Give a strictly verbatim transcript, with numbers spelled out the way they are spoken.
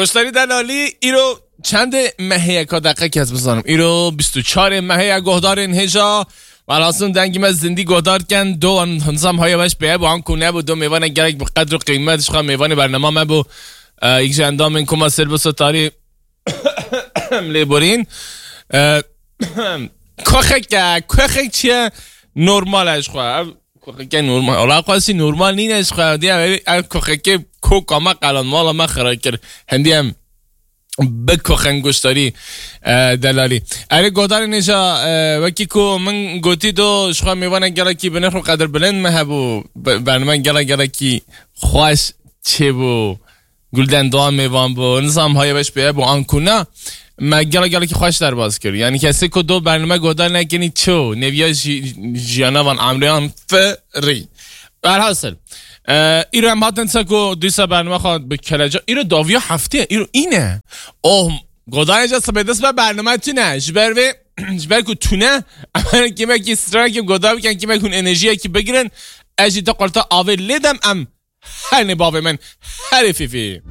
Goştarî delalî, îro çendê mehê ye ka deqekî ez bizanim. Îro bîst û çarê mehê ye, gohdarên hêja. Welhasil dengî me zindî gohdar ken, do nizam haya weş peye bû, anku nebû, do mêvanek gelek bi qedr û qîmet, ji xwe mêvanê bernama me bû. E, yek ji endamên koma Sêrbisa Tarî lêborîn. E, koxek e, koxek çi ye? Normal e ji xwe. Ev koxeke normal. Ola xwesî normal nîne ji xwe. Diye ev, ev koxekê koka me qelan, mala me xira kir. Hindî em bi koxen goştarî, e, delalî. Erê godarê nêja, e, wekî ku min gotî do ji xwe mêvanek gelekî bi nirx û qedir bilind me hebû. Be-, bername gelek gelekî xweş çêbû. Gulden Doğan mêvan bû. Nizam haya weş peye bû anku na. Me gelek gelekî xweş derbas kir. Yani kesê ku do bername godar nekinî ço. Neviya ji-, jiyana van amriyan firî. Berhasil. E, îro em hatin se ku dîsa bername xwe bi keleca. Îro daviya heftê. Îro îne. Oh, godarê ca sibê dest be bername tune. Ji ber vê, ji ber ku tune. Em kimekî stranekî godar bikin, kimek hûn enerjiyekî bigirin. Ez jî te qurta avê lê dem em. Her ne bavê min. Her fîfî.